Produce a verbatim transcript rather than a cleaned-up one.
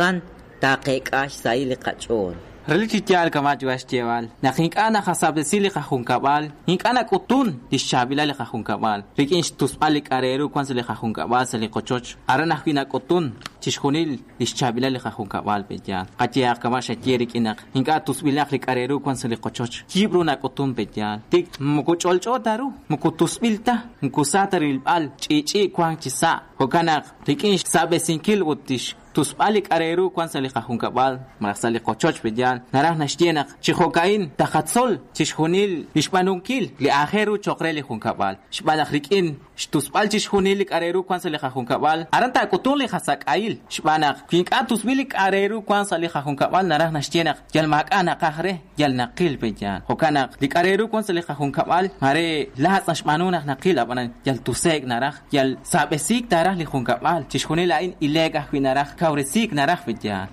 Aran taqek'a xsahil li qach'ool. Relik chi yaal kama' yuwa' xyeeb'al naq ink'a' naqasab'tesi li qajunkab'al, ink'a' nak'utun li xchaab'ilal li qajunkab'al rik'in xtusb'al li k'a' re ru wan sa' li qajunkab'al sa' li qochoch, aran ajwi' nak'utun chixjunil li xchaab'ilal li qajunkab'al pe' yaal. Qayehaq kama' xaye rik'in naq ink'a' tusb'ilaq li k'a' re ru wan sa' li qochoch, yiib' ru nak'utun pe' yaal. Tik moko ch'olch'o ta ru, moko tusb'il ta, moko sa ta rilb'al, ch'i'ch'i' wank chi sa'. Jo'kan naq rik'in xsab'esinkil ut xtusb'al li k'a' re ru wan sa' li qajunkab'al malaj sa' li qochoch pe' yaal, naraj naxye naq chi jo'ka'in taqatzol chixjunil li xb'aanunkil li aajel ru cho'q re li junkab'al. Xb'aan naq rik'in xtusb'al chixjunil li k'a' re ru wan sa' li qajunkab'al, aran taak'utunq li qasak'ahil. Xb'aan naq wi ink'a' tusb'il li k'a' re ru wan sa' li qajunkab'al, naraj naxye naq yal maak'a' naqaj re, yal naqil pe' yaal. Jo'kan naq li k'a' re ru wan sa' li qajunkab'al, mare laatz' naxb'aanu naq naqil, ab'anan yal tuse'k naraj, yal sab'esiik taraj li junkab'al. Chixjunil a'in ile'k ajwi' naraj, kawresiik naraj pe' yaal.